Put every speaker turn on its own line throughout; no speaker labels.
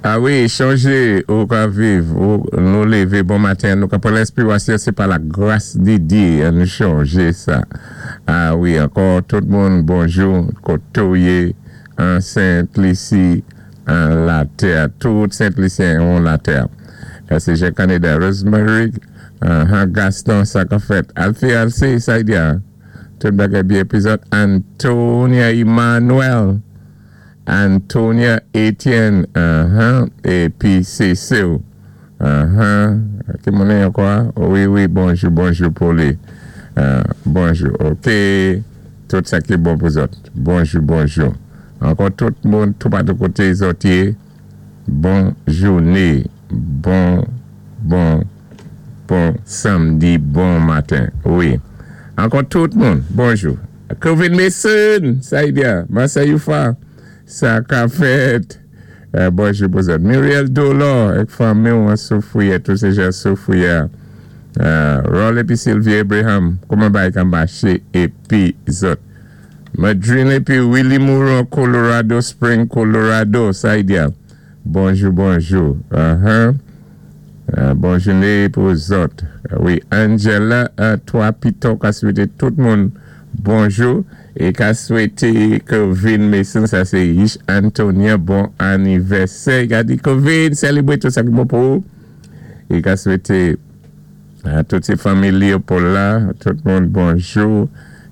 A wi, chonjé, ou ka viv, ou nou lévé bon maten, nou ka pran lenspirasyon, sé pa la gras di Dye, annou chonjé sa. A wi, ankò tout moun bonjou, koté ou yé, an Sent Lisi, an latè, tout Sent Lisyen an latè. Sé Jean Canada, Rosemary, Gaston, sa ka fèt. Alfie Alcé, sa y di, tout bagay byen épi zòt, Antonia Emmanuel, Antonia Etienne, épi Cécile, ki moun ankò? Wi, bonjou, bonjou pou li. Bonjou, OK, tout sa ki bon pou zòt. Bonjou, bonjou. Ankò tout moun, tout patou koté zòt yé, bon jouné, bon, bon, bon samdi, bon maten, wi. Ankò tout moun, bonjou. Kevin Mason, sa y di, Massa Youfa, sa ka fèt. Bonjou pou zòt. Muriel Dolor, ak fanmi an Soufrière, tout sé jan Soufrière. Roll épi Sylvie Abraham, kouman bagay ka maché épi zòt. Madrine épi Willie Moore, Colorado Spring, Colorado, sa y di. Bonjou, bonjou. Bon jouné pou zòt. Wi, Angela, twa piton, ka swété tout moun bonjou é ka swété Kevin Mason, sa sé Yish Antonia, bon anivèsè. I ka di Kevin, sélébré tout sa ki bon pou ou. I ka swété a tout sé fanmi Léopold la, tout moun bonjou.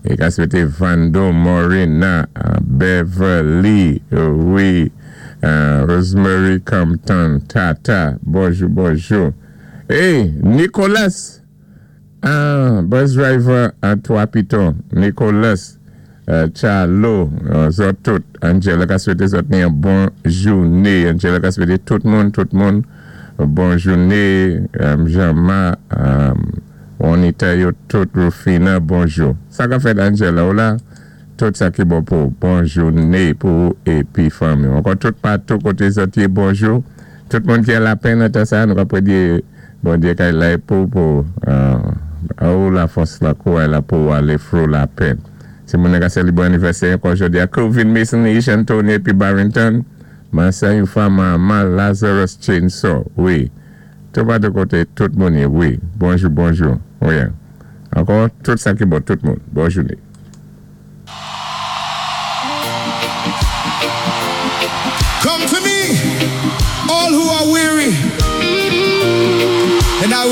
É ka swété Vando Morena, Beverly, wi, Rosemary Compton, Tata, bonjou, bonjou. Hey, Nicolas, ah, bus driver a Twa Piton, Nicolas, Charlo, zòt tout, Angela ka swété zòt ni yon bon jouné. Angela ka swété tout moun, bon jouné, Jean-Ma, Juanita yo tout, Rufina, bonjou. Sa ka fèt Angela ou la, tout sa ki bon pou bon jouné pou épi fanmi. Ankò tout patou koté zòt yé bonjou. Tout moun ki a lapenn nan sa, nou ka prédé Bondyé kay la pou la fòs la kouray la pou alé through lapenn. Si moun ka sélébré anivèsè ankò jòdi a Kevin Mason, Ish Anthony épi Barrington, Massa Yufa Mama Lazarus Chainsaw, wi. Tout patou koté tout moun yé, wi. Bonjou, bonjou. Wi. Ankò tout sa ki bon tout moun. Bon jouné.
Come to me, all who are weary, and I